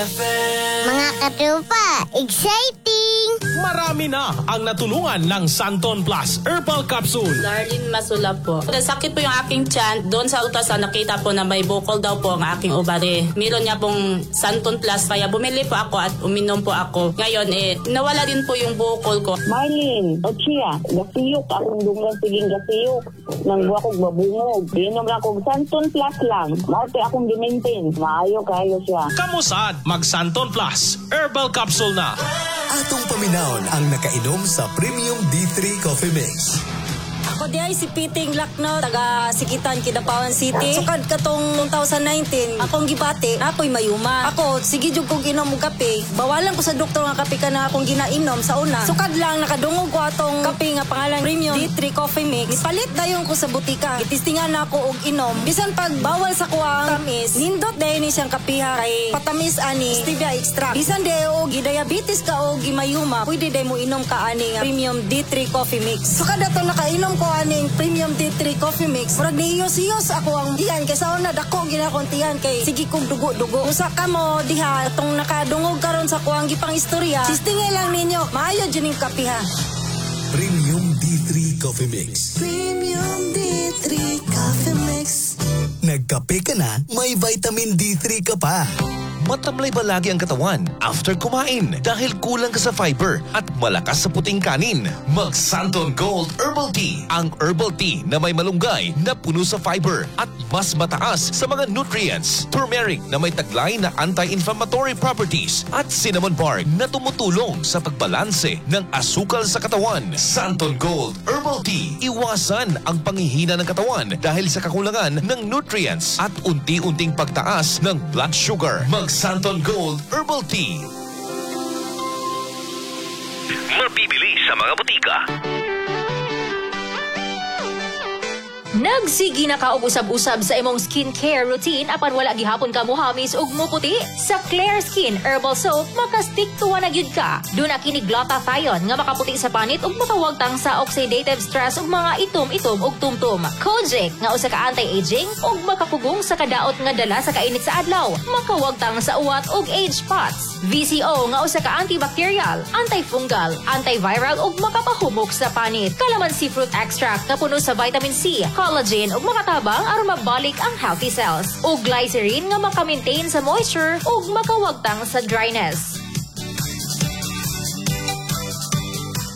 Mga katropa, exciting! Marami na ang natulungan ng Santon Plus Herbal Capsule. Darlene Masula po. Nasakit po yung aking tiyan. Doon sa ultrasound, nakita po na may bukol daw po ang aking ovary. Meron niya pong Santon Plus, kaya bumili po ako at uminom po ako. Ngayon, eh, nawala din po yung bukol ko. Marlene, Ochia, gasiyok akong dunggan siging gasiyok. Nang buwa kog babungog. Inom lang kog Santon Plus lang. Mao akong gimaintain. Maayo kayo siya. Kamusad, mag Santon Plus Herbal Capsule na. Atong paminawon ang nakainom sa Premium D3 Coffee Mix. Ako di ay si Piting Lakno, taga Sikitan, Kidapawan City. Sukad katong 2019, akong gibati, ako'y mayuma. Ako, sige jud kong inom og kape. Bawalan ko sa doktor nga kape ka na akong ginainom sa una. Sukad lang, nakadungog ko atong kape nga pangalan Premium D3 Coffee Mix. Nipalit dayon ko sa butika. Gitistingan na ako og inom. Bisan pag bawal sa kuang tamis, nindot dayon ni siyang kapiha kay patamis ani stevia extract. Bisan di og gidiabetes ka o gimayuma, pwede day mo inom ka ani nga Premium D3 Coffee Mix. Sukad ato nakainom ko aning Premium D3 Coffee Mix. Murag nihiyos-hiyos ako ang tiyan kay sa una dako gina akong tiyan kay sige kong dugo-dugo. Usa ka mo diha atong nakadungog karon sa kuang gipang istorya. Sistingay lang ninyo, maayo jud ning kapiha. Premium D3 Coffee Mix. Premium D3 Coffee Mix. Nagkape ka na, may vitamin D3 ka pa. Matamlay ba lagi ang katawan after kumain dahil kulang ka sa fiber at malakas sa puting kanin? Mag Santon Gold Herbal Tea. Ang herbal tea na may malunggay na puno sa fiber at mas mataas sa mga nutrients. Turmeric na may taglay na anti-inflammatory properties at cinnamon bark na tumutulong sa pagbalanse ng asukal sa katawan. Santon Gold Herbal Tea. Iwasan ang panghihina ng katawan dahil sa kakulangan ng nutrients at unti-unting pagtaas ng blood sugar. Mag Santon Gold Herbal Tea. Mabibili sa mga butika. Nagsigi na ka og usab-usab sa imong skincare routine apan wala gihapon ka muhamis ug muputi? Sa Claire Skin Herbal Soap, makastick to na gyud ka. Duna kini glutathione nga makaputi sa panit ug makawagtang sa oxidative stress ug mga itom-itom ug tumtum. Kojic nga usa ka anti-aging ug makapugong sa kadaot nga dala sa kainit sa adlaw, makawagtang sa uwat ug age spots. VCO nga usa ka antibacterial, antifungal, antiviral ug makapahumok sa panit. Calamansi fruit extract nga puno sa vitamin C, collagen ug makatabang aron mabalik ang healthy cells. Ug glycerin nga maka-maintain sa moisture ug makawagtang sa dryness.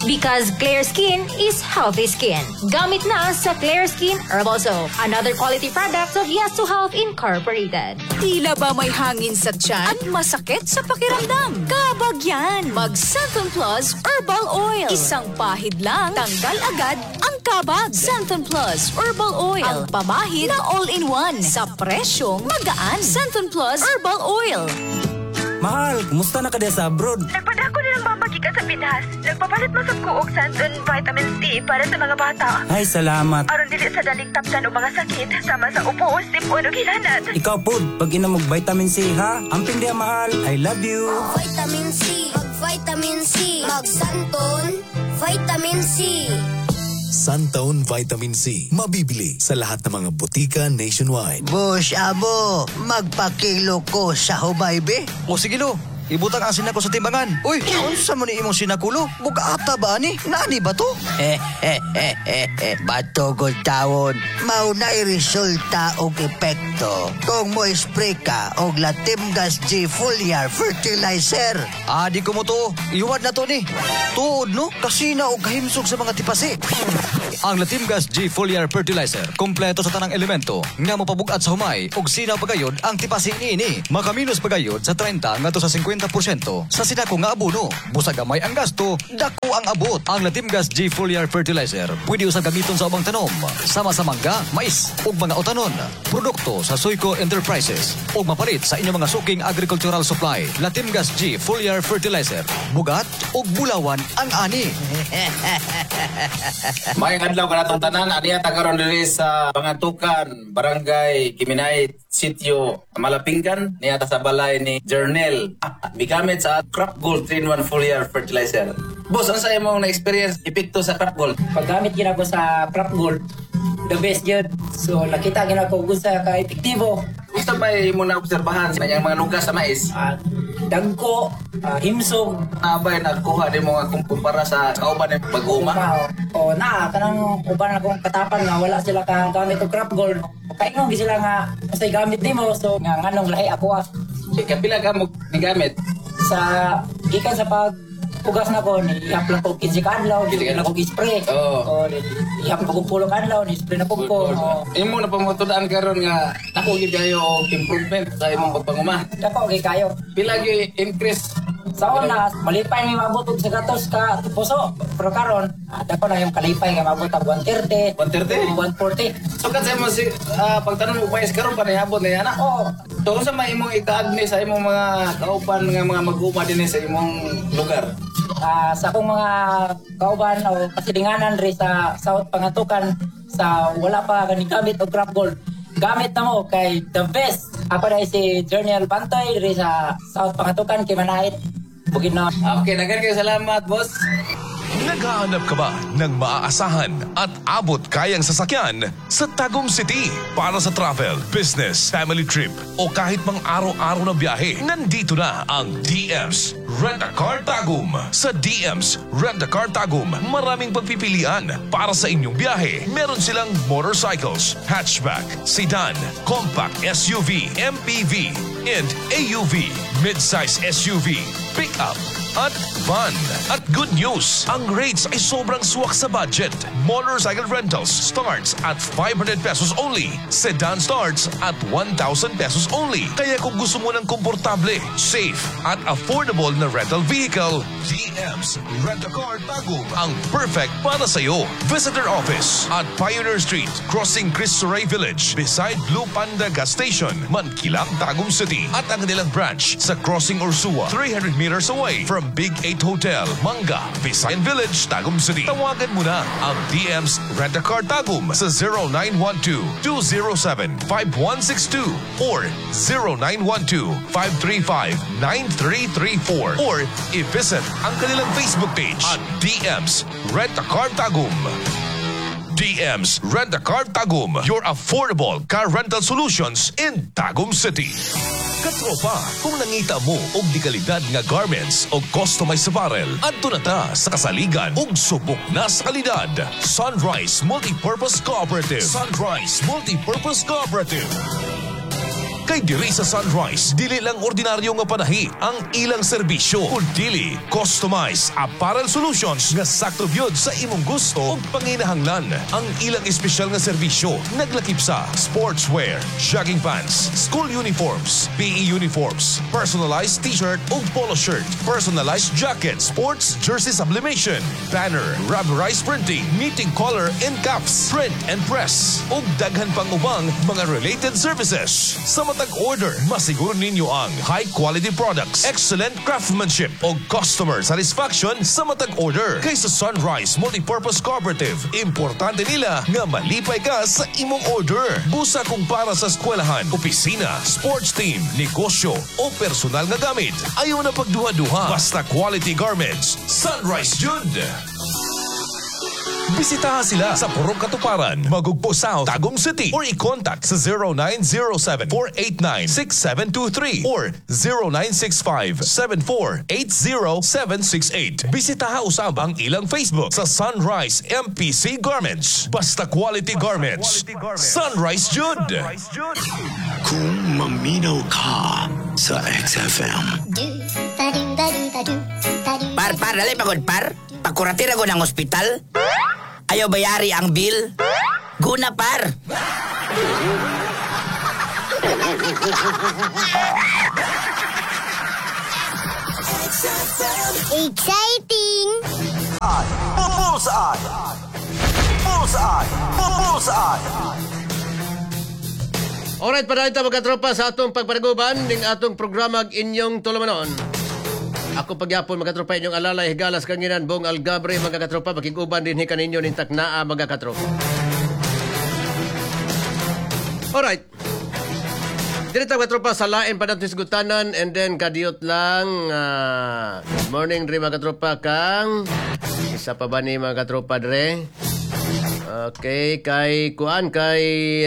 Because clear skin is healthy skin. Gamit na sa Clear Skin Herbal Soap. Another quality product of Yes to Health Incorporated. Tila ba may hangin sa tiyan at masakit sa pakiramdam? Kabagyan! Mag Xanthone Plus Herbal Oil. Isang pahid lang, tanggal agad ang kabag. Xanthone Plus Herbal Oil. Ang pamahid na all-in-one. Sa presyong magaan. Xanthone Plus Herbal Oil. Mahal, kumusta na ka sa abroad? Nagpadako nilang mama gikan sa Pinas. Nagpapalit man sab ko og Santon Vitamin C para sa mga bata. Ay, salamat. Aron dili sa daling tapdan og mga sakit sama sa upo, sipon ug hilanat. Ikaw pod, pag inom og vitamin C ha. Amping diha mahal, I love you. Vitamin C, mag Vitamin C, mag Santon, Vitamin C. Santone Vitamin C. Mabibili sa lahat ng mga butika nationwide. Boss, amo, magpakilo ko sa humay, be. O sige lo, ibutang ang sinako sa timbangan. Uy, unsa man ni imong sinakulo? Bugata ba ani? Nani ba to? Batugod tawon, mao na resulta og epekto kung mo spray ka og Latimgas G Foliar Fertilizer. Ah, di ko mo to. Iwad na to ni. Tuod no, kasina og kahimsog sa mga tipasi. Ang Latimgas G Foliar Fertilizer, kompleto sa tanang elemento nga mopabugat sa humay ug sinaw pagayod ang tipasi niini. Makaminos pagayod sa 30 ngadto sa 50% sa sinako nga abono. Busa gamay ang gasto, dako ang abot. Ang Latimgas G Foliar Fertilizer pwede usab gamiton sa ubang tanom, sama sa mangga, mais ug mga utanon. Produkto sa Suico Enterprises ug mapalit sa inyong mga suking agricultural supply. Latimgas G Foliar Fertilizer, bugat ug bulawan ang ani. Maayong adlaw kanatong tanan, aniya ta karon diri sa Pangatukan, Barangay Kiminay, Sitio Malapinggan, niya ta sa balay ni Jernel. Migamit sa Crop Gold 3-in-1 Foliar Fertilizer. Boss, unsa imong na-experience epekto sa Crop Gold? Paggamit gina ko sa Crop Gold, the best gyud. So nakita gina ko kung sa ka-epektibo. Unsa ba imong naobserbahan sa iyang mga lugas sa mais? Dagko, himsog. Abay nagkuha di mo nga kumpara sa kauban ni pag-uma. O na kanang uban akong katapan nga wala sila ka gamit og Crop Gold. Kaingon gi sila nga unsay gamit nimo, so nga nganong lahi ako ah. Kapila ka mo nigamit? Sa gikan sa pag ugas na ko ni ihap lang ko 15 ka adlaw, di na ko spray. Oo. O ihap ko 10 ka adlaw ni spray na pud ko. O, Imo na pamatudan karon nga dako gyud kayo og improvement sa imong pagpanguma. Dako gyud kayo. Pila gyud increase? Sa una, malipay mi maabot og 100 ka puso. Pero karon, dako na yung kalipay nga maabot og 130, 130, 140. So kan sa imo si pagtanom mo mais karon pa niabot na yana. Oo. So unsa may imong ikaagni sa imong mga kauban nga mga mag-uma dinhi sa imong lugar? Sa akong mga kauban o kasilinganan ri sa South Pangantucan sa wala pa ganing gamit og Crop Gold, gamit na mo kay the best. Ako dahil si Journal Bantoy ri sa South Pangantucan, Kimanait, Bukidnon. Okay, daghan kayo salamat, boss. Naghahanap ka ba ng maaasahan at abot kayang sasakyan sa Tagum City para sa travel, business, family trip o kahit mang araw-araw na biyahe? Nandito na ang DM's Rent-A-Car Tagum. Sa DM's Rent-A-Car Tagum, maraming pagpipilian para sa inyong biyahe. Meron silang motorcycles, hatchback, sedan, compact SUV, MPV, and AUV, midsize SUV, pickup, at van. At good news, ang rates ay sobrang swak sa budget. Motorcycle rentals starts at 500 pesos only. Sedan starts at 1,000 pesos only. Kaya kung gusto mo ng komportable, safe, at affordable na rental vehicle, DM's Rent-A-Car Tagum ang perfect para sa'yo. Visit their office at Pioneer Street, crossing Cristo Rey Village, beside Blue Panda Gas Station, Mankilam, Tagum City. At ang kanilang branch sa Crossing Ursua, 300 meters away from Big 8 Hotel, Manga, Visayan Village, Tagum City. Tawagan mo na ang DM's Rent-A-Car Tagum sa 0912-207-5162 or 0912-535-9334 or i-visit ang kanilang Facebook page at DM's Rent-A-Car Tagum. DM's Rent-A-Car Tagum, your affordable car rental solutions in Tagum City. Katropa, kung nangita mo og di kalidad nga garments o customized apparel, adto na ta sa kasaligan ug subok na sa kalidad. Sunrise Multipurpose Cooperative. Sunrise Multipurpose Cooperative. Kay diri sa Sunrise, dili lang ordinaryo nga panahi ang ilang serbisyo, kundili customized apparel solutions nga sakto gyud sa imong gusto ug panginahanglan. Ang ilang espesyal nga serbisyo naglakip sa sportswear, jogging pants, school uniforms, PE uniforms, personalized t-shirt ug polo shirt, personalized jacket, sports jersey sublimation, banner, rubberized printing, knitting collar and cuffs, print and press, ug daghan pang ubang mga related services. Sa matag order, masiguro ninyo ang high quality products, excellent craftsmanship o customer satisfaction sa matag order. Kay sa Sunrise Multipurpose Cooperative, importante nila nga malipay ka sa imong order. Busa kung para sa eskwelahan, opisina, sports team, negosyo o personal nga gamit. Ayaw na pagduha-duha. Basta quality garments, Sunrise jud! Bisitahan sila sa Purok Katuparan, Magugpo South, Tagum City or i-contact sa 0907-489-6723 or 0965-7480768. Bisitaha usab ang ilang Facebook sa Sunrise MPC Garments. Basta quality garments. Sunrise jud! Kung maminaw ka sa XFM. Par, par, dali pagod, par. Pagkuratira ko ng ospital. Ayaw bayari ang bill. Guna, par. Exciting! Bullseye! Bullseye! Bullseye! Alright, padayon ta mga tropa sa atong pagpanaguban ning atong programa inyong tulumanon. Ako pagyapon mga tropa inyong alalay higalas kanginan Bong Algabre mga katropa makiguban din hi kaninyo ning taknaa mga katropa. Alright. Dili ta mga tropa sa lain pa nato hisgutanan and then kadiyot lang good morning dre mga katropa kang isa pa ba ni mga katropa dre? Okay, kay kuan kay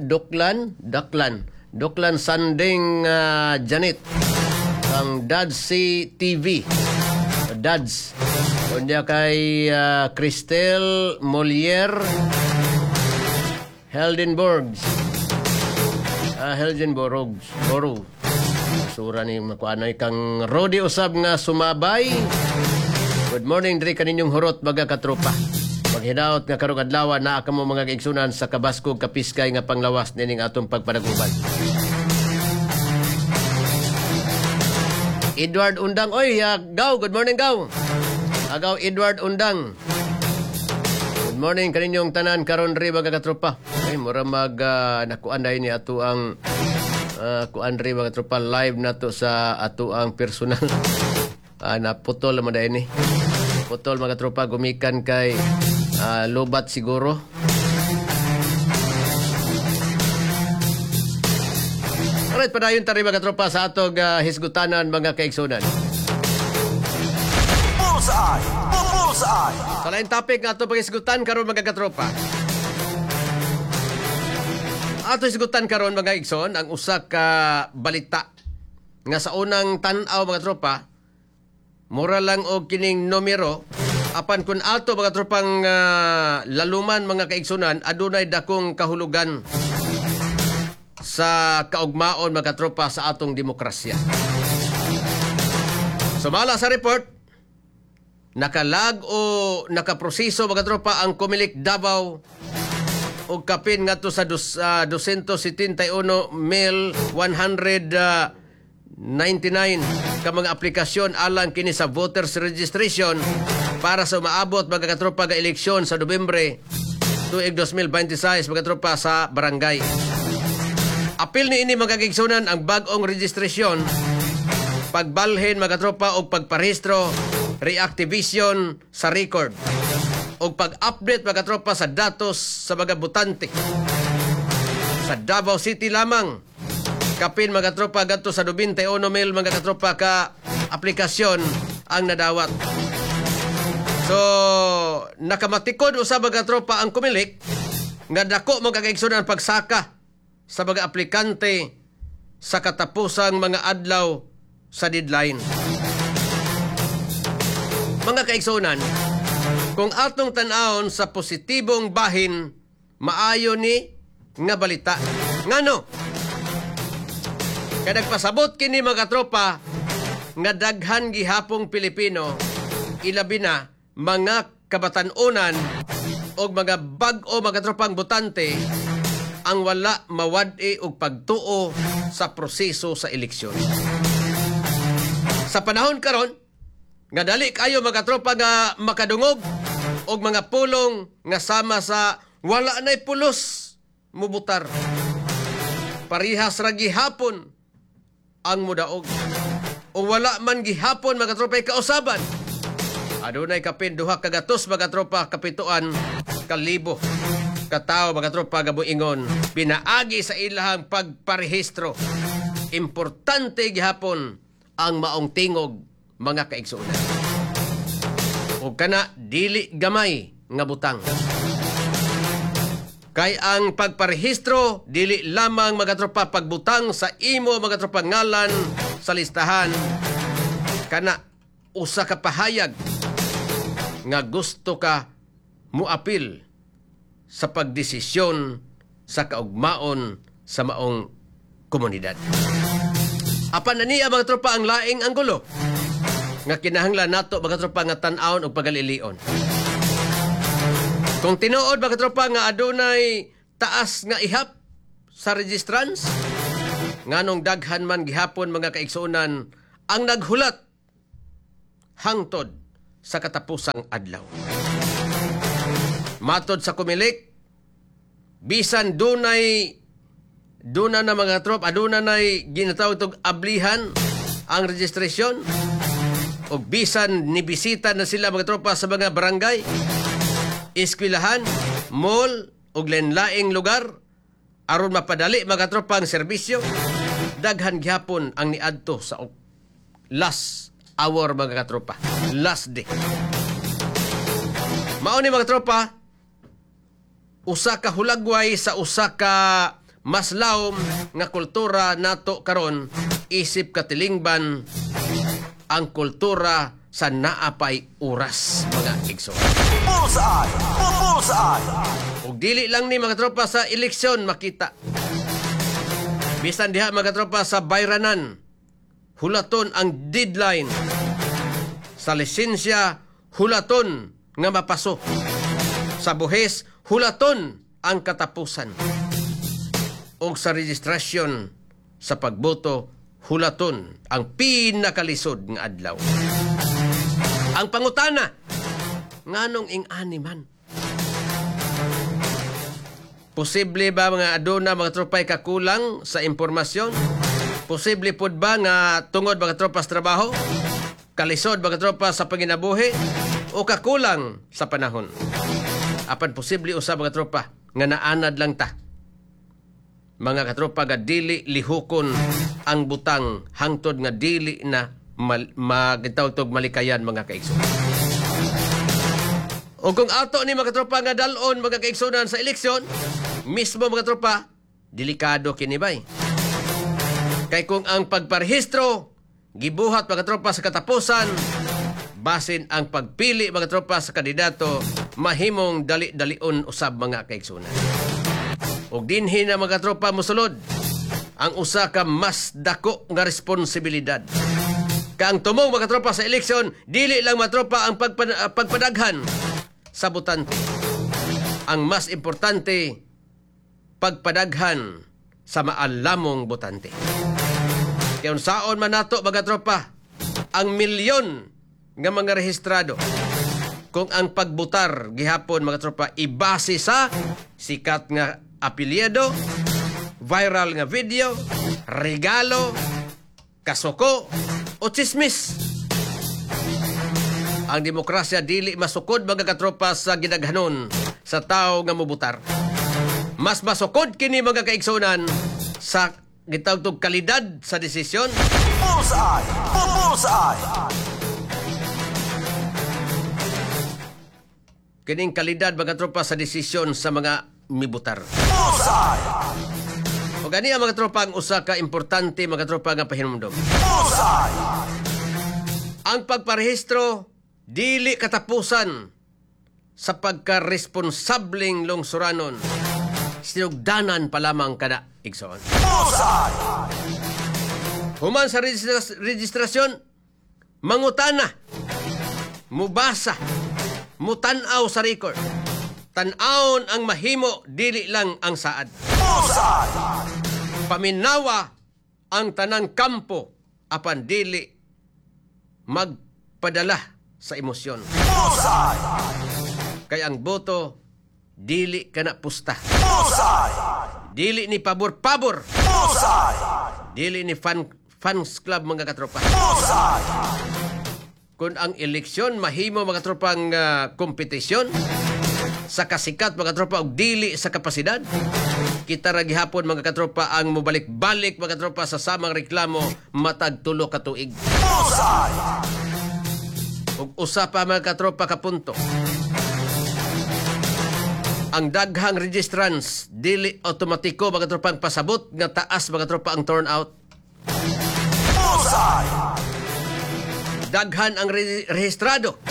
Doklan Sanding Janet. Kang Dads C TV. Dads. Unya kay Cristel Moliere Heldenborg. Heldenborg. Boro. Sura ni makuanay kang Rodi usab nga sumabay. Good morning diri kaninyong hurot mga katropa. Paghinaot nga karong adlaw naa kamo mga kaigsunan sa kabaskog kapiskay nga panglawas nining atong pagpanaguban. Edward Undang, oy, Gaw, good morning Gaw. Agaw Edward Undang. Good morning kaninyong tanan karon ri mga katropa. Ay mura mag nakuan dai ni ato ang kuan ri mga katropa live nato sa ato ang personal. Naputol man dai ni. Putol mga katropa gumikan kay lobat siguro. Alright, padayon ta ri mga katropa sa atong hisgutanan mga kaigsunan. Bullseye! Bullseye! Sa laing topic nga ato paghisgutan karon mga katropa. Ato hisgutan karon mga igsoon ang usa ka balita nga sa unang tan-aw mga tropa mura lang og kining numero apan kun ato mga tropang laluman mga kaigsunan adunay dakong kahulugan sa kaugmaon mga tropa sa atong demokrasya. Sumala sa report, nakalag o nakaproseso mga tropa ang Comelec Davao og kapin ngadto sa 271,199 ka mga aplikasyon alang kini sa voters registration para sa umaabot mga katropa ga eleksyon sa Nobyembre tuig 2026 mga tropa sa barangay. Apil ni ini mga kaigsunan ang bag-ong registrasyon, pagbalhin mga tropa og pagparehistro, reactivation sa record o pag-update mga tropa sa datos sa mga botante. Sa Davao City lamang, kapin mga tropa gadto sa 21,000 mga katropa ka aplikasyon ang nadawat. So, nakamatikod usab mga tropa ang Comelec nga dako mga kaigsunan pagsaka sa mga aplikante sa katapusang mga adlaw sa deadline. Mga kaigsunan, kung atong tan-awon sa positibong bahin, maayo ni nga balita. Ngano? Kay nagpasabot kini mga tropa nga daghan gihapong Pilipino, ilabi na mga kabatan-onan og mga bag-o mga tropang botante ang wala mawad-i og pagtuo sa proseso sa eleksyon. Sa panahon karon nga dali kayo mga tropa nga makadungog og mga pulong nga sama sa wala na'y pulos mubutar. Parihas ra gihapon ang mudaog. O wala man gihapon mga tropa kausaban. Adunay kapin 200 mga tropa kapituan kalibo katao mga tropa gabuingon pinaagi sa ilahang pagparehistro. Importante gihapon ang maong tingog mga kaigsuonan. O kana dili gamay nga butang. Kay ang pagparehistro dili lamang mga tropa pagbutang sa imo mga tropa ngalan sa listahan, kana usa ka pahayag nga gusto ka muapil sa pagdesisyon sa kaugmaon sa maong komunidad. Apan na niya mga tropa ang laing anggulo nga kinahanglan nato mga tropa nga tan-awon og pagalilion. Kung tinuod mga tropa nga adunay taas nga ihap sa registrants, nganong daghan man gihapon mga kaigsuonan ang naghulat hangtod sa katapusang adlaw. Matod sa Comelec, bisan dunay duna na mga trop, aduna nay ginatawag tog ablihan ang registrasyon, og bisan nibisita na sila mga tropa sa mga barangay, eskwelahan, mall ug lain-laing lugar aron mapadali mga tropa ang serbisyo, daghan gihapon ang niadto sa last hour mga katropa, last day. Mao ni mga tropa usa ka hulagway sa usa ka mas lawom nga kultura nato karon Isip katilingban ang kultura sa naapay oras, mga igsoon. Bullseye! Bullseye! Ug dili lang ni mga tropa sa eleksyon makita. Bisan diha mga tropa sa bayranan, hulaton ang deadline. Sa lisensya, hulaton nga mapaso. Sa buhis, hulaton ang katapusan. Ug sa registrasyon sa pagboto, hulaton ang pinakalisod nga adlaw. Ang pangutana, nganong ing-ani man? Posible ba mga aduna mga tropay kakulang sa impormasyon? Posible pod ba nga tungod mga tropa sa trabaho? Kalisod mga tropa sa panginabuhi? O kakulang sa panahon? Apan posible usa mga tropa nga naanad lang ta. Mga katropa nga dili lihukon ang butang hangtod nga dili na magitawtog malikayan mga kaigsoon. O kung ato ni mga tropa nga dalon mga kaigsunan sa eleksyon, mismo mga tropa, delikado kini bay. Kay kung ang pagparehistro gibuhat mga tropa sa katapusan, basin ang pagpili mga tropa sa kandidato mahimong dali-dalion usab mga kaigsunan. Og dinhi na mga tropa mosulod ang usa ka mas dako nga responsibilidad. Kaang tumong mga tropa sa eleksyon, dili lang mga tropa ang pagpadaghan sa botante. Ang mas importante, pagpadaghan sa maalamong botante. Kaya unsaon man nato mga tropa ang milyon nga mga rehistrado kung ang pagbutar gihapon mga tropa ibase sa sikat nga apelyido, viral nga video, regalo, kasuko o chismis. Ang demokrasya dili masukod mga katropa sa gidaghanon sa tao nga mobutar. Mas masukod kini mga kaigsunan sa gitawag kalidad sa desisyon. Bullseye! Bullseye! Kining kalidad mga tropa sa desisyon sa mga mibutar. Bullseye! O gani ang mga tropa ang usa ka importante mga tropa nga pahinumdom. Bullseye! Ang pagparehistro dili katapusan sa pagkaresponsableng lungsuranon. Sinugdanan pa lamang kada igsoon. Bullseye! Human sa registrasyon, mangutana, mubasa, mutan-aw sa record. Tan-awon ang mahimo, dili lang ang saad. Bullseye! Paminawa ang tanang kampo apan dili magpadala sa emosyon. Bullseye! Kay ang boto dili kana pusta. Bullseye! Dili ni pabor-pabor. Bullseye! Dili ni fans club mga katropa. Bullseye! Kung ang eleksyon mahimo mga tropang kompetisyon sa kasikat mga tropa og dili sa kapasidad, kita ra gihapon mga katropa ang mobalik-balik mga tropa sa samang reklamo matag tulo ka tuig. Bullseye! Ug usa pa mga katropa ka punto. Ang daghang registrants dili otomatiko mga tropa ang pasabot nga taas mga tropa ang turnout. Bullseye! Daghan ang rehistrado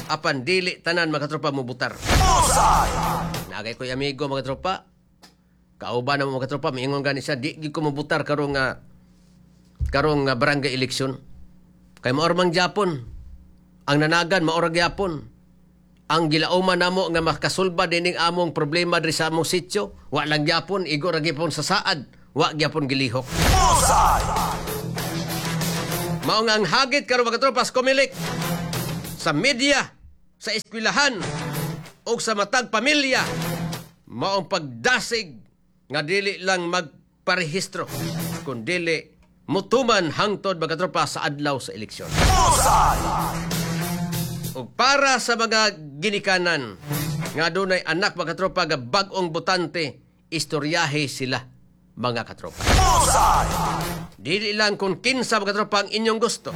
apan dili tanan mga tropa mobutar. Bullseye! Nagay ko'y amigo mga tropa. Kauban na mo mga tropa, miingon gani siya, di gid ko mobutar karong barangay eleksyon. Kay maor mang Japon. Ang nanagan maor gyapon. Ang gilauman namo nga makasulba dining among problema diri sa among sitio, wa lang gyapon, igo ra gyapon sa saad, wa gyapon gilihok. Bullseye! Mao nga ang hagit karon mga tropa sa Comelec, sa media, sa eskwelahan ug sa matag pamilya, maong pagdasig nga dili lang magparehistro kun dili mutuman hangtod mga tropa sa adlaw sa eleksyon. Bullseye! Ug para sa mga ginikanan nga dunay anak mga tropa nga bag-ong botante, istoryahe sila mga katropa. Bullseye! Dili lang kung kinsa mga tropa ang inyong gusto,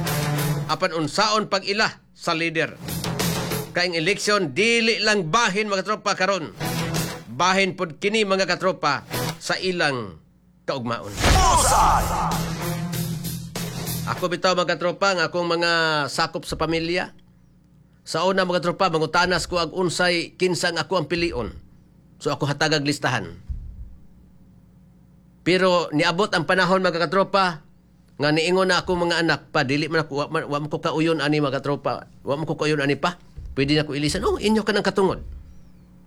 apan unsaon pag-ila sa leader. Kay ang eleksyon dili lang bahin mga tropa karon. Bahin pod kini mga katropa sa ilang kaugmaon. Bullseye! Ako bitaw mga katropa, ang akong mga sakop sa pamilya. Sa una mga tropa, mangutanas ko ag unsay kinsang ako ang pilion. So ako hatagag listahan. Pero niabot ang panahon mga katropa nga niingon na ako mga anak pa, dili man ako, wa man ko kauyon ani mga katropa, wa man ko kauyon ani pa. Pwede na ko ilisan. Oh, inyo ka ng katungod.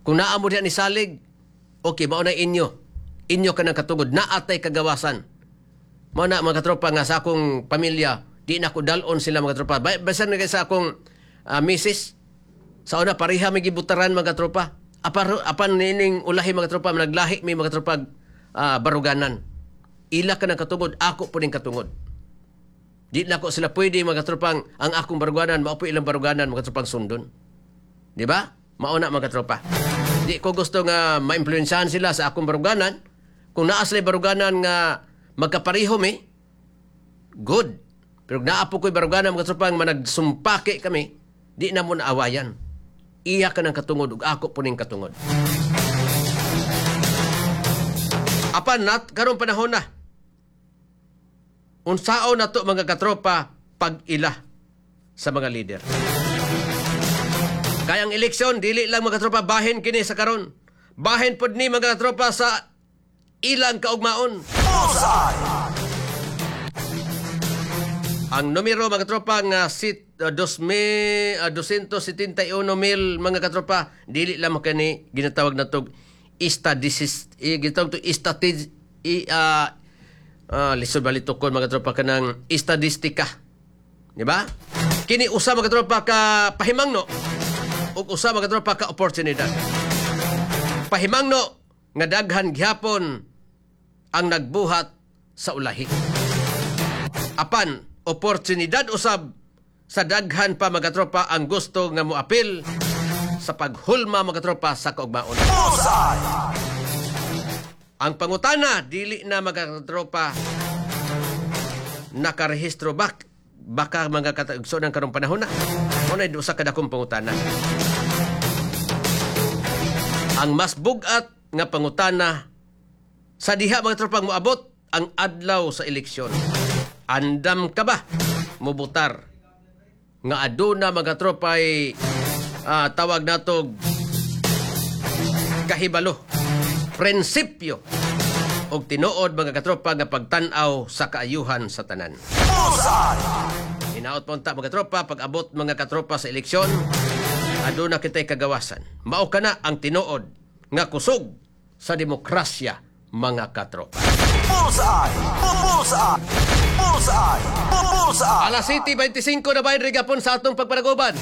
Kung naa mo diha ni salig, okay, mao na inyo. Inyo ka ng katungod, naatay kagawasan. Mao na mga katropa nga sa akong pamilya, di na ko dalon sila mga katropa. Bisan na sa akong misis, sa una pareha may gibutaran mga katropa. Apan nining ulahi mga katropa, naglahi may mga katropa baruganan. Ila ka ng katungod, ako po ning katungod. Di na ko sila pwede mga katropang ang akong baruganan, mao po ilang baruganan mga katropang sundon. Di ba? Mao na mga katropa. Di ko gusto nga maimpluwensyahan sila sa akong baruganan. Kung naa sila baruganan nga magkapareho mi, good. Pero naa po ko'y baruganan mga katropang managsumpake kami, di na mo naawayan. Iya ka ng katungod ug ako po ning katungod. Apan nat karong panahon na. Unsao na to mga katropa pag-ila sa mga leader. Kaya ang eleksyon dili lang mga katropa bahin kini sa karon. Bahin pod ni mga katropa sa ilang kaugmaon. Ang numero mga katropa nga 271,000 mga katropa dili lang kani ginatawag natog lisod balito kon mga katropa kanang estadistika. Di ba? Kini usa mga katropa ka pahimangno ug usa mga katropa ka oportunidad. Pahimangno nga daghan gihapon ang nagbuhat sa ulahi. Apan oportunidad usab sa daghan pa mga katropa ang gusto nga moapil sa paghulma mga katropa sa kaugmaon. Ang pangutana dili na mga katropa nakarehistro ba baka mga katagso ng karong panahon na. Mao na usa ka dakong pangutana. Ang mas bug-at nga pangutana sa diha mga tropang moabot ang adlaw sa eleksyon. Andam ka ba mobutar nga aduna mga tropay tawag natog kahibalo, prinsipyo og tinuod mga katropa nga pagtan-aw sa kaayuhan sa tanan. Hinaot po unta mga katropa, pag abot mga katropa sa eleksyon, aduna kita'y kagawasan. Mao kana ang tinuod nga kusog sa demokrasya mga katropa. Bullseye! Bullseye! Bullseye! Bullseye! Alas 7:25 na bahin rigapon sa atong pagpanaguban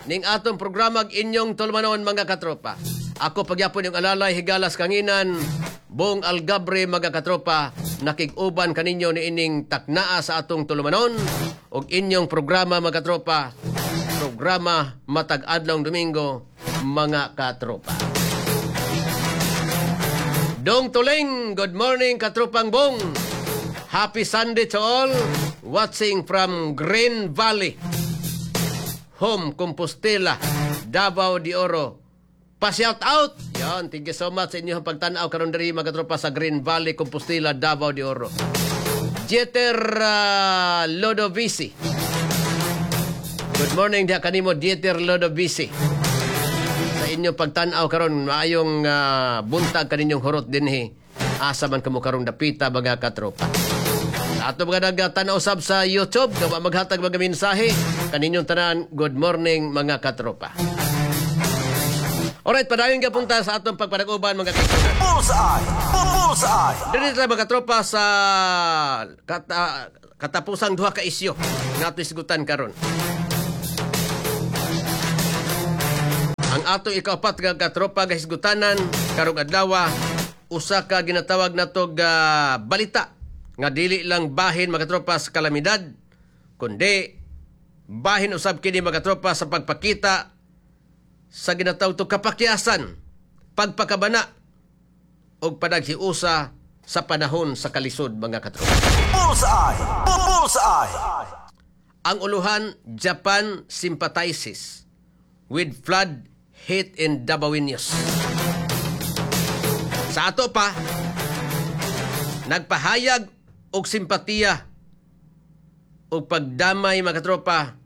ning atong programa inyong tulumanon mga katropa. Ako pagyapon yung alalay higalas kanginan Bong Algabre mga katropa, nakig-uban kaninyo ni ining taknaa sa atong tulumanon og inyong programa mga katropa, programa matag adlong Domingo mga katropa. Dong Tuling, good morning katropang Bong. Happy Sunday to all watching from Green Valley, Home Compostela, Davao de Oro. Pa-shout out! Yan, thank you so much sa inyong pagtanaw karon diri mga katropa sa Green Valley, Compostela, Davao de Oro. Dieter Lodovisi. Good morning diha kanimo Dieter Lodovisi. Sa inyong pagtanaw karon maayong buntag kaninyong hurot dinhi. Asa man kamo karong dapita mga katropa. Sa ato mga nagtanaw sab sa YouTube, gawa maghatag mga mensahe kaninyong tanan, good morning mga katropa. Alright, padayon ka punta sa atong pagpanag-uban mga kaibigan. Bullseye! Bullseye! Dito tayo mga katropa sa katapusang duha ka isyo nga ato isgutan karon. Ang ato ikaapat nga katropa nga hisgutanan karong adlaw, usa ka ginatawag natog balita nga dili lang bahin mga katropa sa kalamidad, kundi bahin usab kini mga katropa sa pagpakita sa ginatawag to kapakyasan, pagpakabana og panaghiusa sa panahon sa kalisod mga katropa. Bullseye! Bullseye! Ang uluhan, Japan sympathizes with flood hit in Dabawenyos. Sa ato pa, nagpahayag og simpatiya og pagdamay mga katropa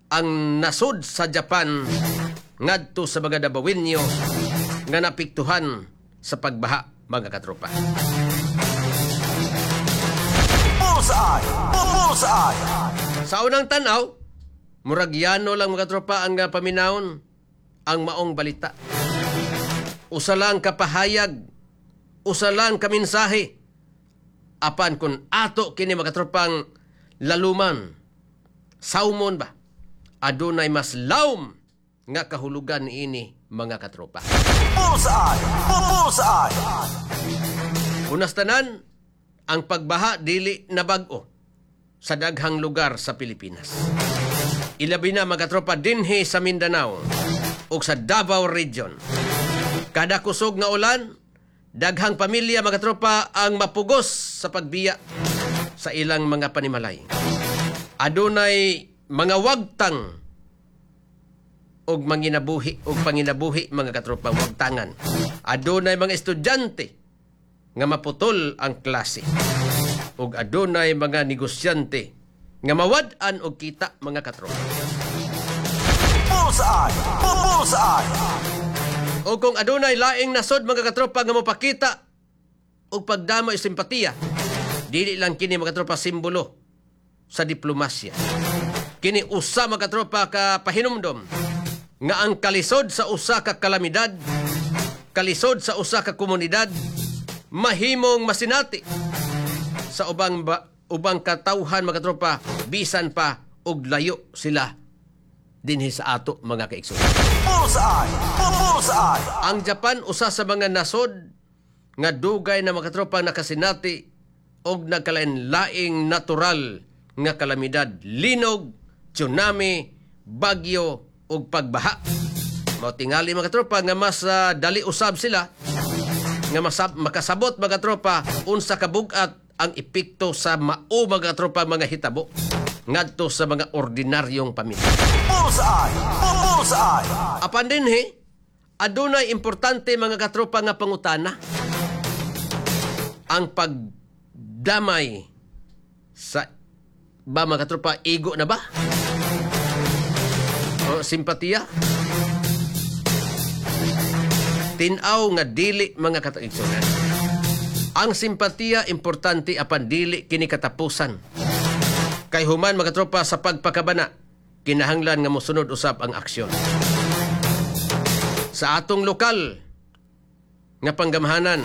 ang nasod sa Japan ngadto sa mga Dabawenyo nga napiktuhan sa pagbaha mga katropa. Bullseye! Bullseye! Sa unang tanaw, murag yano lang mga katropa ang paminawon ang maong balita. Usa lang ka pahayag, usa lang ka mensahe. Apan kun ato kini mga katropang laluman, saumon ba, adunay mas lawom nga kahulugan niini mga katropa. Bullseye! Bullseye! Unas tanan, ang pagbaha dili na bag-o sa daghang lugar sa Pilipinas. Ilabi na mga katropa dinhi sa Mindanao ug sa Davao Region. Kada kusog nga ulan, daghang pamilya mga katropa ang mapugos sa pagbiya sa ilang mga panimalay. Adunay mga wagtang og manginabuhi og panginabuhi mga katropa, wagtangan. Adunay mga estudyante nga maputol ang klase. Og adunay mga negosyante nga mawad-an og kita mga katropa. Bullseye! Bullseye! O kung adunay laing nasod mga katropa nga mopakita og pagdamo og simpatiya, dili lang kini mga katropa simbolo sa diplomasya. Kini usa mga katropa ka pahinumdom nga ang kalisod sa usa ka kalamidad, kalisod sa usa ka komunidad, mahimong masinati sa ubang katawhan mga katropa, bisan pa og layo sila dinhi sa ato mga kaigsoon. Bullseye! Bullseye! Ang Japan usa sa mga nasod nga dugay na mga katropa nakasinati og nagkalain-laing natural nga kalamidad, linog, tsunami, bagyo ug pagbaha. Mao tingali mga katropa nga mas dali usab sila nga makasabot mga katropa unsa ka bug-at ang epekto sa mao mga katropa mga hitabo ngadto sa mga ordinaryong pamilya. Bullseye! Bullseye! Apan dinhi, adunay importante mga katropa nga pangutana. Ang pagdamay sa ba mga katropa, igo na ba? O simpatiya? Tin-aw nga dili mga kataigsunan. Ang simpatiya importante apan dili kini katapusan. Kay human mga katropa sa pagpakabana, kinahanglan nga mosunod usab ang aksyon. Sa atong lokal nga panggamhanan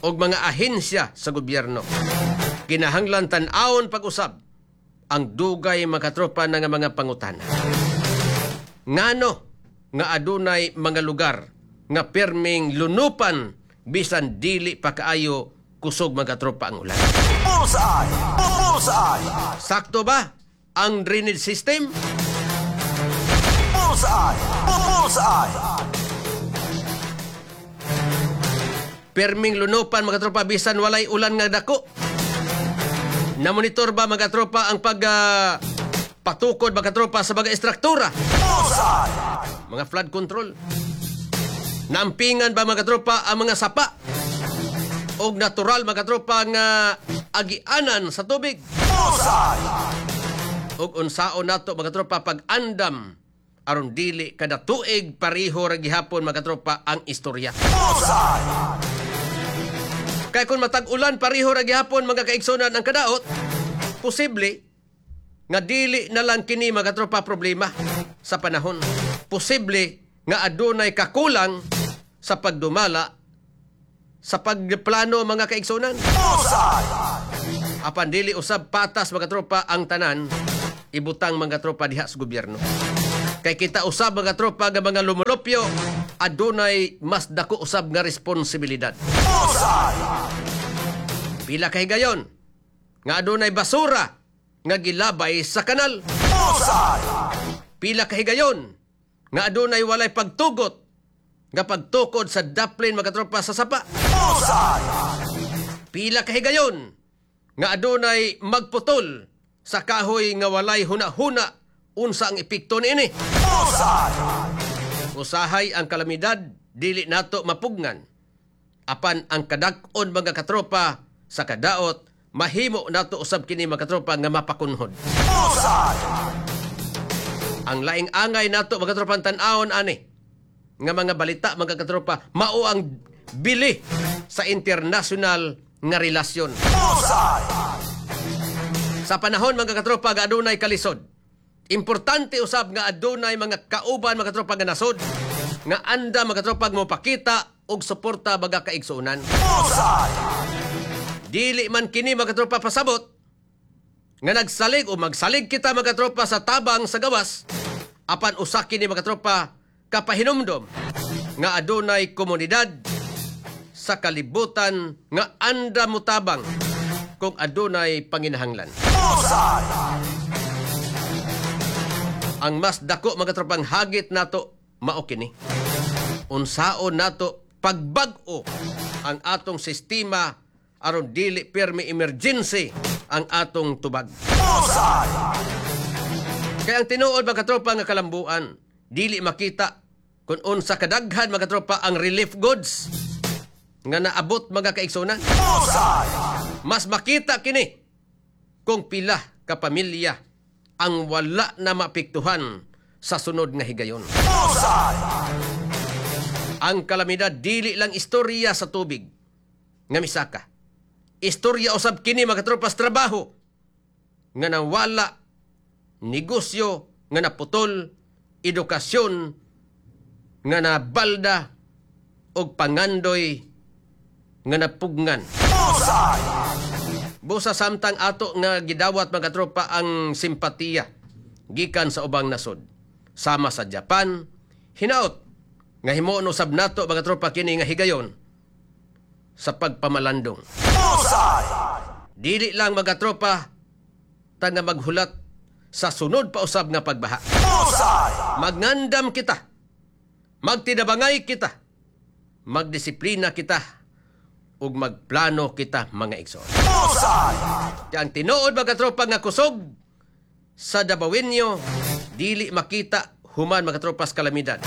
og mga ahensya sa gobyerno, kinahanglan tan-awon pag-usab ang dugay mga katropa nga mga pangutana. Ngano nga adunay mga lugar nga pirming lunupan bisan dili pa kaayo kusog mga katropa ang ulan. Bullseye! Bullseye! Sakto ba ang drainage system? Bullseye! Bullseye! Pirming lunupan mga tropa bisan walay ulan nga dako. Namonitor ba mga tropa ang pag patukod mga tropa sa mga istruktura? Bullseye! Mga flood control. Nampingan ba mga tropa ang mga sapa? Og natural mga tropa nga agianan sa tubig? Bullseye! Og unsaon nato mga tropa pag-andam aron dili kada tuig pareho ra gihapon mga tropa ang istorya. Bullseye! Kay kung matag-ulan pareho ra gihapon mga kaigsunan ang kadaot, posible nga dili na lang kini mga tropa problema sa panahon. Posible nga adunay kakulang sa pagdumala sa pagplano mga kaigsunan. Bullseye! Apan dili usab patas mga tropa ang tanan ibutang mga tropa diha sa gobyerno. Kay kita usab mga tropa nga mga lumulupyo adunay mas dako usab nga responsibilidad. Bullseye! Pila kay gayon nga adunay basura nga gilabay sa kanal. Bullseye! Pila kay gayon nga adunay walay pagtugot nga pagtukod sa daplin mga tropa sa sapa. Bullseye! Pila kay gayon nga adunay magputol sa kahoy nga walay huna-huna unsa ang epekto niini. Bullseye! Usahay ang kalamidad dili nato mapugnan apan ang kadag-on mga katropa sa kadaot Mahimo nato usab kini mga katropa nga mapakunhod. Ang laing angay nato mga katropa tan-awon ani nga mga balita mga katropa mao ang bili sa international nga relasyon. Sa panahon mga katropa nga adunay kalisod, importante usab nga adunay mga kauban mga katropa nga nasod nga anda mga katropa mopakita og suporta baga kaigsuonan. Dili man kini mga katropa pasabot nga nagsalig o magsalig kita mga katropa sa tabang sa gawas, apan usa kini mga katropa kapahinumdom nga adunay komunidad sa kalibutan nga anda motabang kung adunay panginahanglan. Ang mas dako mga katropang hagit nato mao kini. Unsaon nato pagbag-o ang atong sistema aron dili pirmi emergency ang atong tubag. Kaya ang tinuod mga katropa nga kalambuan, dili makita kung unsa kadaghan mga katropa ang relief goods nga naabot mga kaigsunan. Mas makita kini kung pila ka pamilya ang wala na maapektuhan sa sunod nga higayon. Ang kalamidad dili lang istorya sa tubig nga misaka. Istorya usab kini mga katropa sa trabaho nga nawala, negosyo nga naputol, edukasyon nga nabalda, og pangandoy nga napugnan. Busa samtang ato nga gidawat mga katropa ang simpatiya gikan sa ubang nasod. Sama sa Japan, hinaot nga himuon usab nato mga katropa kini nga higayon sa pagpamalandong. Dili lang mga katropa ta nga maghulat sa sunod pa usab nga pagbaha. Magnandam kita, magtinabangay kita, magdisiplina kita, ug magplano kita mga igsoon. Ang tinuod mga katropa nga kusog sa Dabawenyo dili makita human mga katropa sa kalamidad.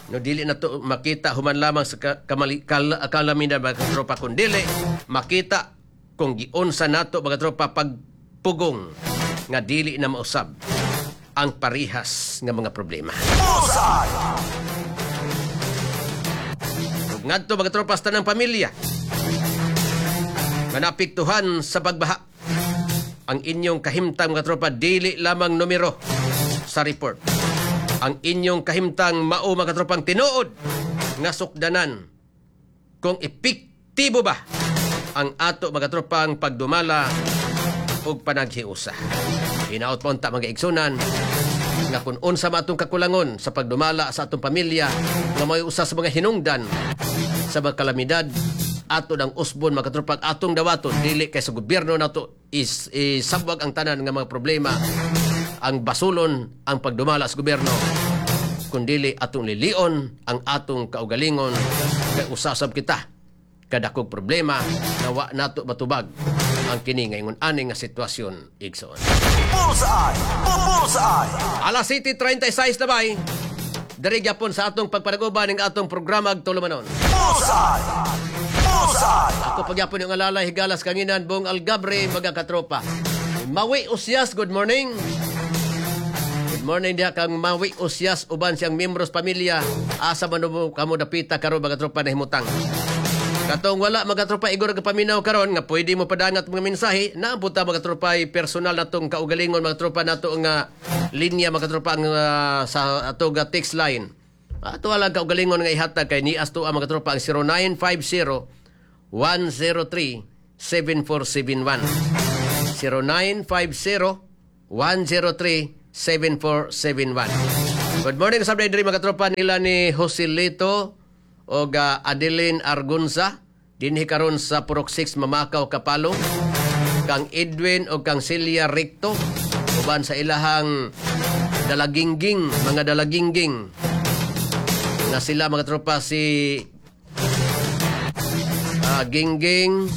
No, dili na to makita human lamang sa kalamidad mga katropa, kun dili makita kung giunsa nato mga katropa pagpugong nga dili na mausab ang parihas nga mga problema. Ngadto mga tropa sa tanang pamilya nga naapektuhan sa pagbaha, ang inyong kahimtang mga tropa dili lamang numero sa report. Ang inyong kahimtang mao mga tropang tinuod nga sukdanan kung epektibo ba ang ato mga tropang pagdumala ug panaghiusa. Hinaot pa unta mga igsunan nga kung unsa man atong kakulangon sa pagdumala sa atong pamilya nga may usa sa mga hinungdan sa mga kalamidad, ato ng usbon mga katropa atong dawaton dili kay sa gobyerno nato isabwag ang tanan nga mga problema, ang basulon ang pagdumala sa gobyerno, kundili atong lilion ang atong kaugalingon kay usasab kita kadakog problema na wa nato matubag ang kini ngayon ani nga sitwasyon igsoon. Bullseye! Bullseye! Alas 7:36 na bay. Diri gyapon sa atong pagpanaguban ng atong programa Tulumanon. Bullseye! Bullseye! Ako pagyapon yung alalay higalas kanginan buong Algabre mga katropa. Mawi Usyas, good morning. Good morning diha kang Mawi Usyas uban siyang membros pamilya. Asa man mo kamo dapita karon mga tropa na himutang. Katong wala mga tropa igor ka paminaw karon nga pwede mo padangat mga mensahe, naabot ta mga tropa ay personal natong kaugalingon mga tropa nato nga linya mga tropa ang sa ato ga text line. Ato lang kaugalingon nga ihatag kay nias to ang mga tropa ang 0950 103 7471. 0950 103 7471. Good morning sa diri mga tropa nila ni Joselito og Adeline Argunza dinhi karon sa Purok 6 Mamakaw Kapalong, kang Edwin og kang Celia Recto uban sa ilahang dalagingging, mga dalagingging na sila mga tropa si Gingging,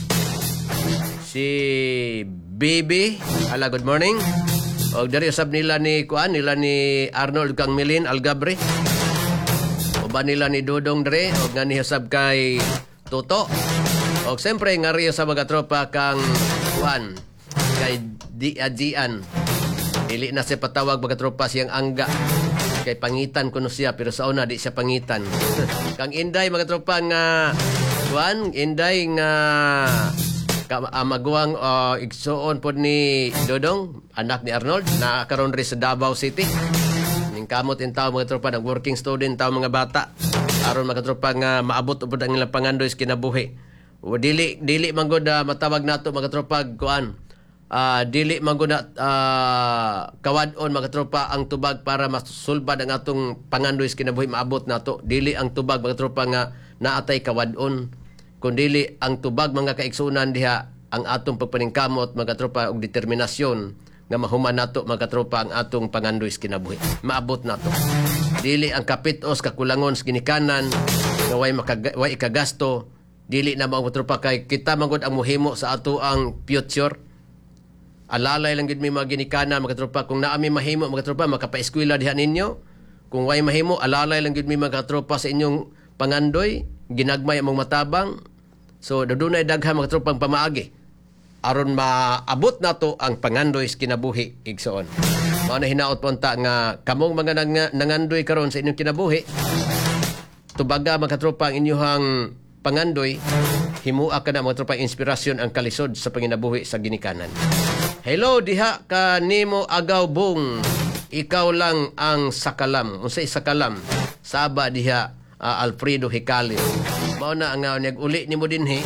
si Bibi. Ala, good morning. Og diri usab nila ni kuan nila ni Arnold kang Milin Algabre. Uban nila ni Dodong dre og nga ni usab kay Toto. Og siyempre ngari sa mga tropa kang Juan kay Diajian. Dili na siya patawag mga tropa siyang angga. Kay pangitan kuno siya pero sa una di siya pangitan. Kang Inday mga tropa nga Juan, Inday nga maguwang igsuon pod ni Dodong, anak ni Arnold, na karon ri sa Davao City. Ning kamot in tao mga tropa, nag working student tao mga bata. Aron mga tropa nga maabot pod ang ilang pangandoy sa kinabuhi. O, dili dili man gud matawag nato mga tropa kuan. Dili man gud kawad-on mga tropa ang tubag para masulbad ang atong pangandoy sa kinabuhi maabot nato. Dili ang tubag mga tropa nga naatay kawad-on, kun dili ang tubag mga kaigsunan diha ang atong pagpaningkamot mga tropa og determinasyon nga mahuman nato mga tropa ang atong pangandoy sa kinabuhi. Maabot nato. Dili ang kapitos kakulangon sa ginikanan nga way ikagasto, dili na mga tropa kay kita man gud ang mohimo sa ato ang future. Alalay lang gid mi mga ginikanan mga tropa kung naa mi mahimo mga tropa makapaeskwela diha ninyo. Kung way mahimo alalay lang gid mi mga tropa sa inyong pangandoy, ginagmay among matabang. So dunay daghan mga tropang pamaagi aron maabot nato ang pangandoy sa kinabuhi igsoon. Mao na hinaot po unta nga kamong mga nangandoy karon sa inyong kinabuhi, tubaga mga tropa ang inyong pangandoy, himua ka na mga tropa inspirasyon ang kalisod sa panginabuhi sa ginikanan. Hello diha ka nimo agaw bung, ikaw lang ang sakalam. Unsay sakalam? Saba diha Alfredo Hicalio. Mao na ang nag-uli nimo dinhi.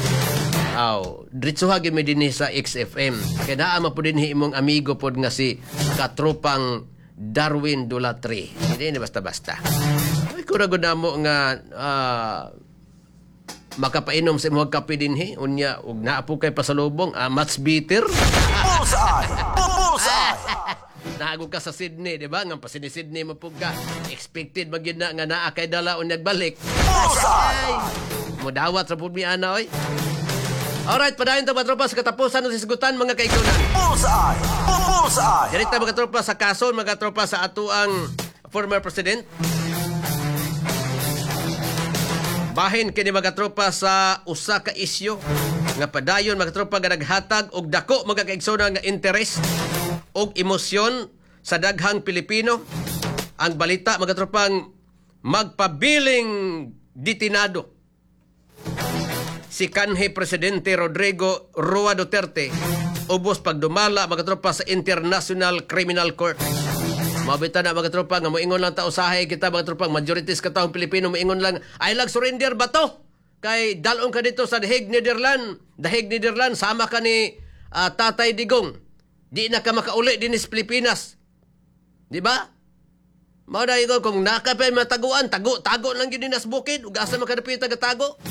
Aw, diretsuha gyud mi dinhi sa XFM. Kay naa man pud dinhi imong amigo pod nga si katropang Darwin Dulatri. Hindi ni basta-basta. Ay kura gud namo nga makapainom sa imong kape dinhi unya ug naa po kay pasalubong much bitter. Bullseye! Bullseye! Naagog ka sa Sydney, di ba? Nga pa Sydney mo pug ka. Expected man gyud na nga naa kay dala unya nagbalik. Bullseye! Mudawat sa pud mi ana oy. Alright, padayon ta mga tropa sa katapusan ng sisigutan mga kaigsunan. Bullseye! Bullseye! Direkta mga tropa sa kaso, mga tropa sa atuang former president. Bahin kini mga tropa sa usa ka isyu nga padayon mga tropa nga naghatag og dako mga kaigsunan nga interest og emosyon sa daghang Pilipino. Ang balita mga tropang magpabiling ditinado si kanhi Presidente Rodrigo Roa Duterte ubos pagdumala mga tropa sa International Criminal Court. Mabita na mga tropa nga moingon lang ta usahay kita mga tropa, majority sa katawang Pilipino moingon lang ay lag surrender ba to? Kay dalon ka dito sa Dahig Nederland, Dahig Nederland sama ka ni Tatay Digong. Di na ka makauli din sa Pilipinas. Di ba? Mao na ingon kung nakapay mataguan, tago tago lang gyud sa bukid ug asa makadapit ka tago.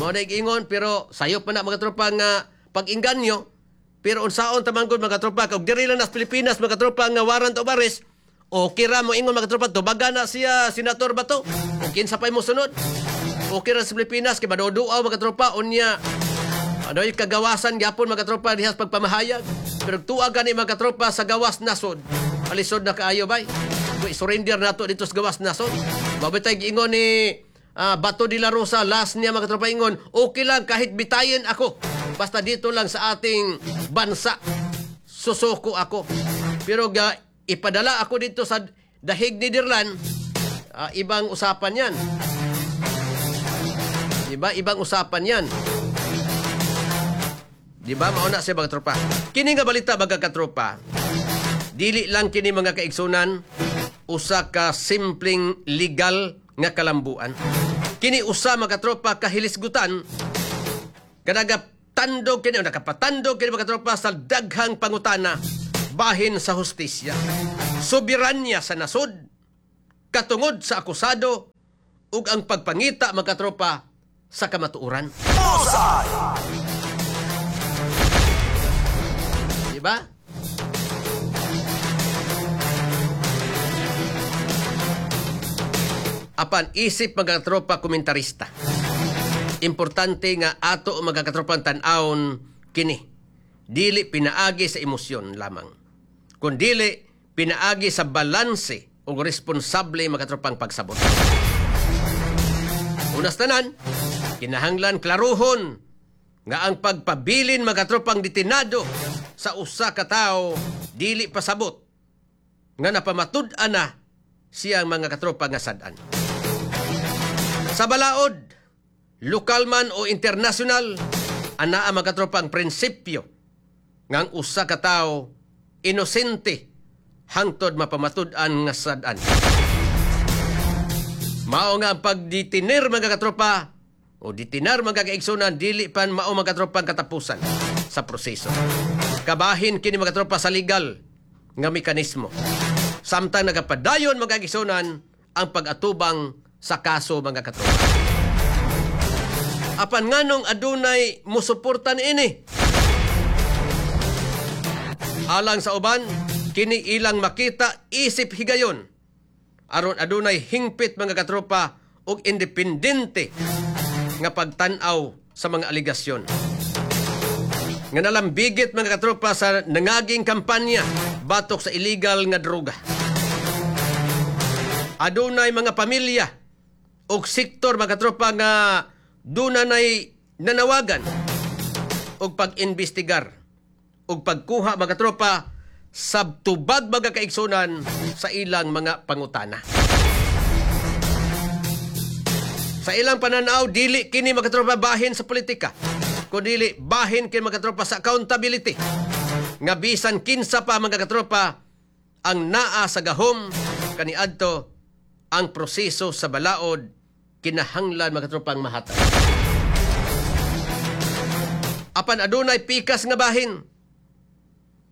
Mao na ingon pero sayop man na mga tropa nga pag-inganyo. Pero unsaon ta man gud mga tropa kung diri lang nas Pilipinas mga tropa nga warrant of arrest, okay ra mo ingon mga tropa tubaga na siya Senator Bato. Ug kinsa pay mo sunod? Okay ra sa Pilipinas kay maduduaw mga tropa unya adoy kagawasan gyapon mga tropa diha sa pagpamahayag. Pero tuwa gani mga tropa sa gawas nasod. Alisod na kaayo bay. Kung surrender nato dito sa gawas nasod. Mabitay giingon ni Bato de la Rosa last niya mga tropa ingon, okay lang kahit bitayin ako. Basta dito lang sa ating bansa susuko ako. Pero ipadala ako dito sa Dahig Nederland, ibang usapan yan. Diba? Ibang usapan yan. Diba? Mauna siya mga tropa. Kini nga balita mga katropa, dili lang kini mga kaigsunan usa ka simpleng legal nga kalambuan. Kini usa mga katropa kahilisgutan kanaga tandog kini o nakapatandog kini mga katropa sa daghang pangutana bahin sa hustisya, soberanya sa nasod katungod sa akusado ug ang pagpangita mga katropa sa kamatuoran. Bullseye! Diba? Apan isip mga katropa komentarista, importante nga ato mga katropang tan-awon kini. Dili pinaagi sa emosyon lamang, kundili pinaagi sa balanse ug responsable mga katropang pagsabot. Unas tanan, kinahanglan klaruhon nga ang pagpabilin mga katropang detinado sa usa ka tawo dili pasabot nga napamatud-an na siyang mga katropa nga sad-an. Sa balaod, lokal man o international, anaa mga katropa ang prinsipyo nga ang usa ka tawo inosente hangtod mapamatud-an nga sad-an. Mao nga ang pagdetiner mga katropa o detinar mga kaigsunan dili pan mao mga katropa ang katapusan sa proseso. Kabahin kini mga katropa sa legal nga mekanismo. Samtang nagapadayon mga kaigsunan ang pag-atubang sa kaso mga katropa. Apan nganong adunay musuporta niini? Alang sa uban, kini ilang makita isip higayon aron adunay hingpit mga katropa og independente nga pagtan-aw sa mga aligasyon. Nga nalambigit mga katropa sa nangaging kampanya batok sa illegal nga droga. Adunay mga pamilya og sektor mga katropa nga dunanay nanawagan og pag-imbestigar og pagkuha mga katropa sa tubag mga kaigsunan sa ilang mga pangutana. Sa ilang pananaw, dili kini mga katropa bahin sa politika, kundili bahin kini mga katropa sa accountability. Nga bisan kinsa pa mga katropa ang naa sa gahom kaniadto ang proseso sa balaod kinahanglan mga katropa ang mahatag. Apan adunay pikas nga bahin.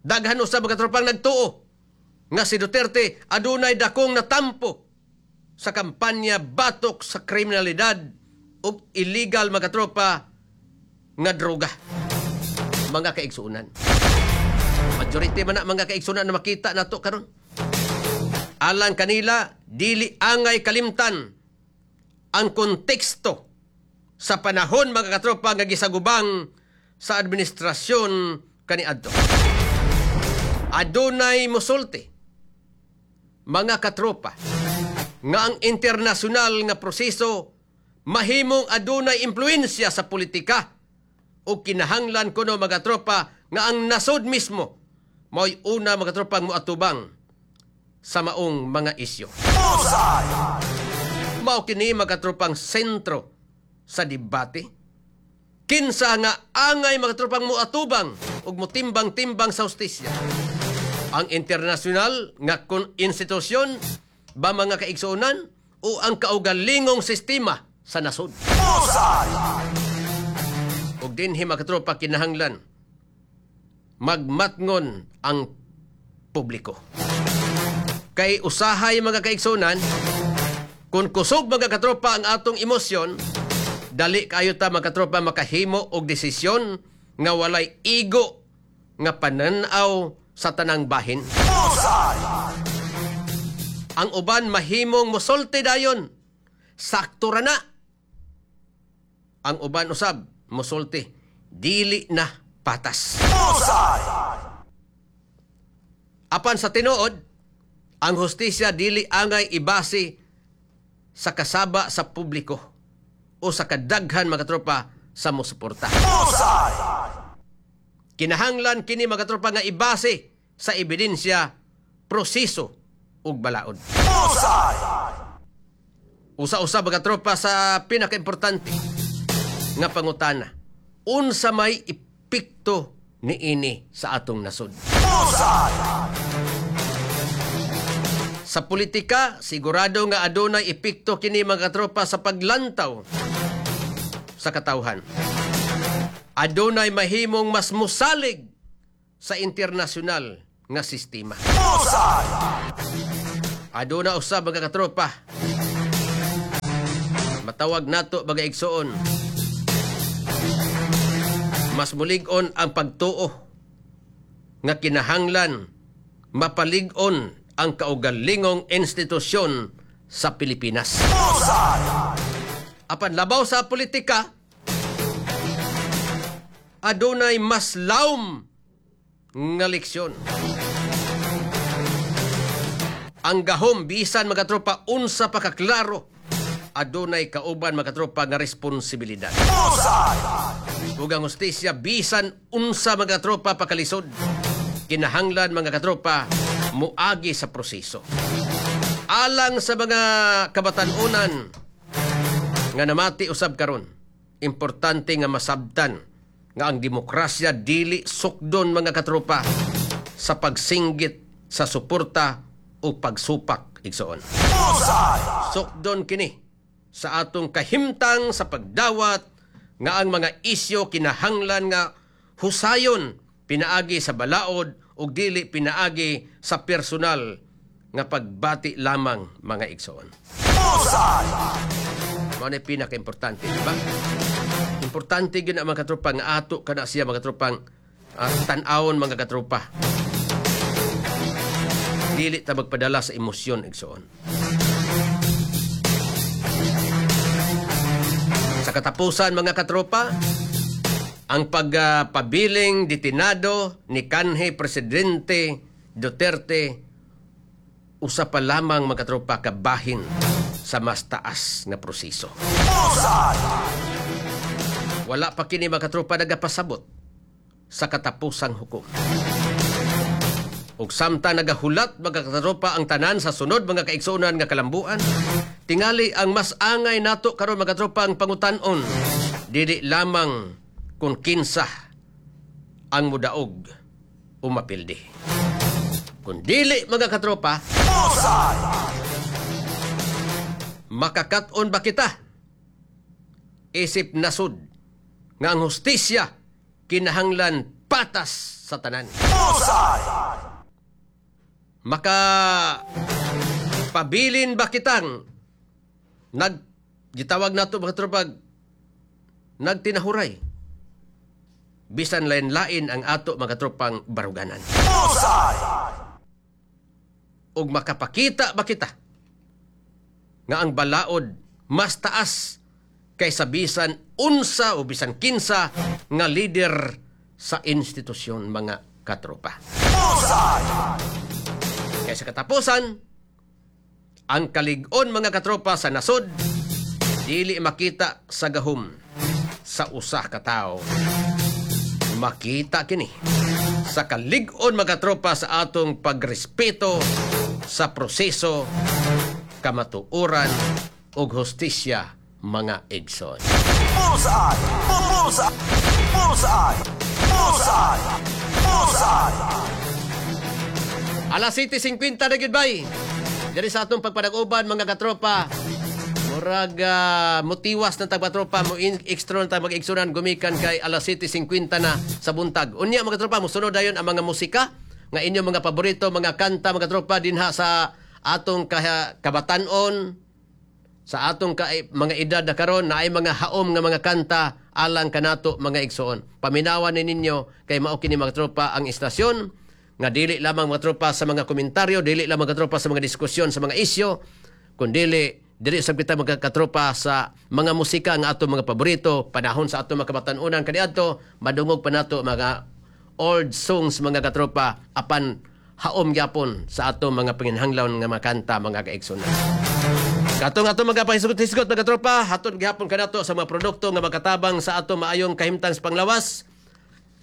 Daghan usab mga katropang nagtuo nga si Duterte adunay dakong natampo sa kampanya batok sa kriminalidad ug illegal mga katropa nga droga. Mga kaigsuonan. Majority man na mga kaigsuonan na makita nato karon. Alang kanila dili angay kalimtan ang konteksto sa panahon mga katropa nga gisagubang sa administrasyon kaniadto. Adunay musulti mga katropa nga ang internasyonal nga proseso mahimong adunay impluwensya sa politika o kinahanglan kuno mga tropa nga ang nasod mismo mao'y una mga tropang moatubang sa maong mga isyu. Mao kini mga tropang sentro sa debate. Kinsa nga angay mga tropang moatubang ug motimbang-timbang sa hustisya? Ang internasyonal nga institusyon ba mga kaigsuonan o ang kaugalingong sistema sa nasod? Ug dinhi mga katropa kinahanglan magmatngon ang publiko. Kay usahay mga kaigsuonan, kung kusog mga katropa ang atong emosyon, dali kayo ta mga katropa makahimo og desisyon nga walay igo nga pananaw sa tanang bahin. Ang uban mahimong mosulti dayon, sakto ra na. Ang uban usab mosulti, dili na patas. Apan sa tinuod, ang hustisya dili angay ibase sa kasaba sa publiko o sa kadaghan mga tropa sa mosuporta. Kinahanglan kini mga tropa nga ibase sa ebidensya, proseso ug balaod. Usa-usa mga tropa sa pinakaimportante nga pangutana, unsa may epekto niini sa atong nasod? Sa politika, sigurado nga adunay epekto kini mga tropa sa paglantaw sa katawhan. Adunay mahimong mas musalig sa internasyonal nga sistema. Aduna usab mga katropa, matawag nato mga igsoon, mas mulig-on ang pagtuo nga kinahanglan mapalig-on ang kaugalingong institusyon sa Pilipinas. Apan labaw sa politika, adunay mas lawom nga leksyon. Ang gahom bisan mga tropa unsa pa kaklaro, adunay kauban mga tropa nga responsibilidad. Ug ang hustisya bisan unsa, mga katropa, pakalisod, kinahanglan, mga katropa, muagi sa proseso. Alang sa mga kabatan-unan nga namati usab karon, importante nga masabtan nga ang demokrasya dili sukdon, mga katropa, sa pagsinggit sa suporta o pagsupak, igsoon. Sukdon kini sa atong kahimtang sa pagdawat nga ang mga isyo kinahanglan nga husayon pinaagi sa balaod ug dili pinaagi sa personal nga pagbati lamang, mga igsoon. Mao na pinaka-importante, di ba? Importante gyud na, mga katropa, nga ato kana siya, mga katropang, tan-awon, mga katropa. Dili ta magpadala sa emosyon, igsoon. Sa katapusan, mga katropa, ang pagpabiling detinado ni kanhi Presidente Duterte usa pa lamang, mga katropa, kabahin sa mas taas nga proseso. Wala pa kini, mga katropa, nagapasabot sa katapusang hukom. Ug samtang nagahulat, mga katropa, ang tanan sa sunod, mga kaigsuonan, nga kalambuan, tingali ang mas angay nato karon, mga katropa, ang pangutan-on dili lamang kung kinsa ang mudaog o mapildi. Kung dili, mga katropa, makakat-on ba kita isip nasud nga ang hustisya kinahanglan patas sa tanan? Maka pabilin ba kitang gitawag nato, mga katropa, nagtinahuray bisan lain-lain ang ato, mga tropang, baruganan? Ug makapakita ba kita nga ang balaod mas taas kaysa bisan unsa o bisan kinsa nga leader sa institusyon, mga katropa? Kaysa katapusan, ang kalig-on, mga katropa, sa nasod dili makita sa gahom sa usa ka tawo. Makita kini sa kalig-on, mga katropa, sa atong pagrespeto sa proseso, kamatuoran ug hustisya, mga igsoon. Bullseye! Bullseye! Bullseye! Bullseye! Bullseye! Alas 7:50 na gyud bay. Diri sa atong pagpanag-uban, mga katropa. Murag mutiwas na tag tropa mo extra na tag mag-igsunan gumikan kay alas 7:50 na sa buntag. Unya, mga tropa, mosunod dayon ang mga musika nga inyong mga paborito, mga kanta, mga tropa, dinha sa atong kabatan-on, sa atong mga edad na karon na ay mga haom nga mga kanta alang kanato, mga igsoon. Paminawan ni ninyo kay mao kini, mga tropa, ang istasyon nga dili lamang, mga tropa, sa mga komentaryo, dili lamang, mga tropa, sa mga diskusyon sa mga isyu, kundili dili sab kita, mga katropa, sa mga musika nga atong mga paborito panahon sa atong mga kabatan-unan kaniadto. Madungog pa nato mga old songs, mga katropa, apan haom gyapon sa atong mga panginhanglaon nga mga kanta, mga kaigsunan. Katong atong mga pahisgot-hisgot, mga katropa, hatod gihapon kanato sa mga produkto nga makatabang sa atong maayong kahimtang sa panglawas.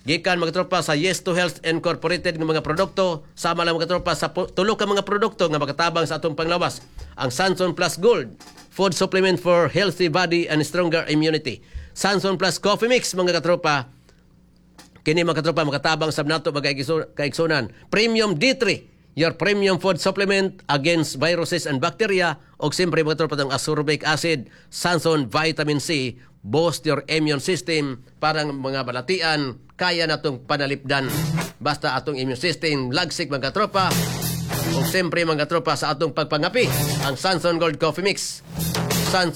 Gikan, mga tropa, sa Yes to Health Incorporated nga mga produkto, sama lang, mga tropa, sa tulo ka mga produkto nga makatabang sa atong panglawas. Ang Sanson Plus Gold, food supplement for healthy body and stronger immunity. Sanson Plus Coffee Mix, mga katropa, kini, mga katropa, makatabang sab nato, mga kaigsunan. Premium D3, your premium food supplement against viruses and bacteria. Og siyempre, mga tropa, ang ascorbic acid, Sanson Vitamin C, boost your immune system parang mga balatian kaya natong panalipdan basta atong immune system lagsik, mga tropa. Og siyempre, mga tropa, sa atong pagpangapi, ang Sanson Gold Coffee Mix.